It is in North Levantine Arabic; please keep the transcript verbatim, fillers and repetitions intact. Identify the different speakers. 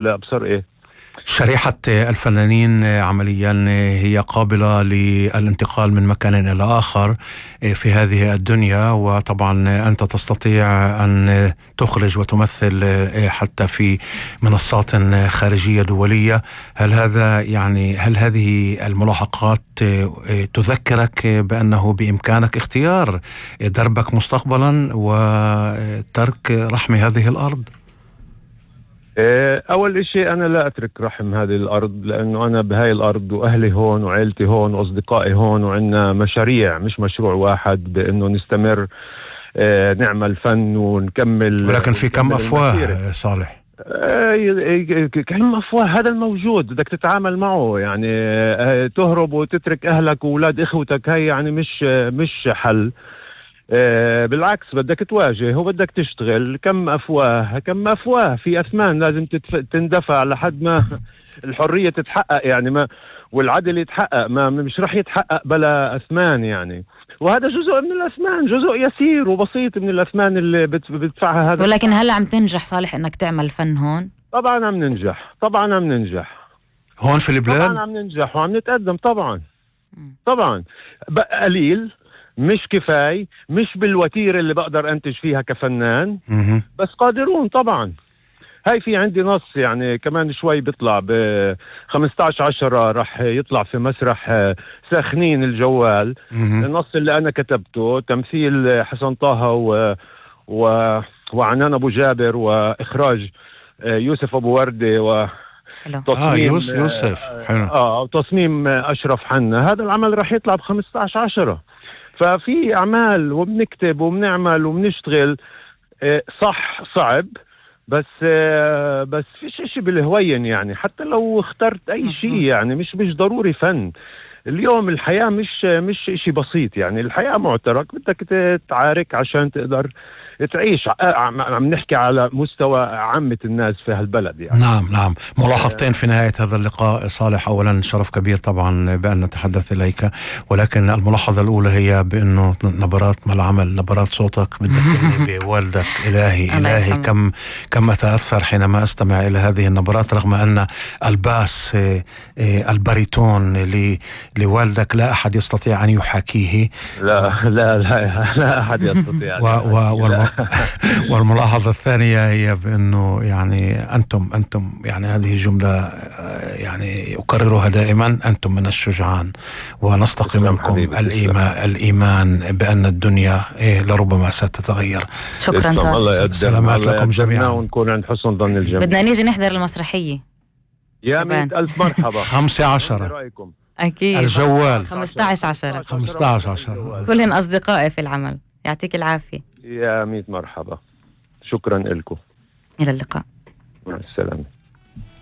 Speaker 1: لا أبصر إيه؟
Speaker 2: شريحة الفنانين عمليا هي قابلة للانتقال من مكان إلى آخر في هذه الدنيا، وطبعا أنت تستطيع أن تخرج وتمثل حتى في منصات خارجية دولية. هل هذا يعني هل هذه الملاحقات تذكرك بأنه بإمكانك اختيار دربك مستقبلا وترك رحم هذه الأرض؟
Speaker 1: أول إشي أنا لا أترك رحم هذه الأرض، لأنه أنا بهاي الأرض وأهلي هون وعيلتي هون وأصدقائي هون، وعنا مشاريع مش مشروع واحد بأنه نستمر نعمل فن ونكمل.
Speaker 2: ولكن في كم أفواه صالح؟
Speaker 1: كم أفواه، هذا الموجود بدك تتعامل معه. يعني تهرب وتترك أهلك وأولاد إخوتك، هاي يعني مش مش حل. آه بالعكس بدك تواجه وبدك تشتغل. كم أفواه كم أفواه في أثمان لازم تندفع لحد ما الحرية تتحقق، يعني ما والعدل يتحقق، ما مش رح يتحقق بلا أثمان يعني. وهذا جزء من الأثمان، جزء يسير وبسيط من الأثمان اللي بدفعها هذا.
Speaker 3: ولكن هلأ عم تنجح صالح إنك تعمل فن هون؟
Speaker 1: طبعا عم ننجح، طبعا عم ننجح
Speaker 2: هون في البلاد،
Speaker 1: طبعا عم ننجح وعم نتقدم طبعا. طبعا قليل، مش كفاية، مش بالوتيرة اللي بقدر أنتج فيها كفنان، بس قادرون طبعا. هاي في عندي نص يعني كمان شوي بيطلع ب خمستعش عشرة رح يطلع في مسرح ساخنين الجوال. النص اللي أنا كتبته تمثيل حسن طه و... و... وعنان أبو جابر، وإخراج يوسف أبو وردة، و
Speaker 2: تصميم آه يوسف حلو.
Speaker 1: آه وتصميم أشرف حنا. هذا العمل رح يطلع ب خمستعش عشرة. ففي أعمال وبنكتب وبنعمل وبنشتغل. صح صعب، بس بس فيش اشي بالهوين يعني. حتى لو اخترت اي شيء يعني مش مش ضروري فن. اليوم الحياة مش مش اشي بسيط يعني. الحياة معترك، بدك تتعارك عشان تقدر تعيش. عم نحكي على مستوى عامة الناس في هالبلد يعني.
Speaker 2: نعم نعم. ملاحظتين في نهاية هذا اللقاء صالح. أولا شرف كبير طبعا بأن نتحدث إليك، ولكن الملاحظة الأولى هي بأنه نبرات ما العمل، نبرات صوتك بتذكرني بوالدك. إلهي إلهي كم كم أتأثر حينما أستمع إلى هذه النبرات، رغم أن الباس الباريتون لوالدك لا أحد يستطيع أن يحاكيه.
Speaker 1: لا لا لا, لا أحد يستطيع.
Speaker 2: و و والملاحظة الثانية هي بأنه يعني أنتم أنتم يعني هذه جملة يعني أكررها دائما، أنتم من الشجعان، ونستقي منكم الإيمان الإيمان بأن الدنيا إيه لربما ستتغير.
Speaker 3: شكرا
Speaker 1: صالح.
Speaker 2: سلامات لكم جميعا،
Speaker 1: ونكون عند حسن ظن الجميع.
Speaker 3: بدنا نيجي نحضر المسرحية.
Speaker 1: يا مئة ألف مرحبا.
Speaker 2: خمسة عشرة
Speaker 3: أكيد.
Speaker 2: الجوال
Speaker 3: خمستعش عشرة
Speaker 2: خمستعش عشرة
Speaker 3: كلهم أصدقائي في العمل. يعطيك العافية.
Speaker 1: يا مئة مرحبا. شكرا لكم.
Speaker 3: إلى اللقاء.
Speaker 1: مع السلامة.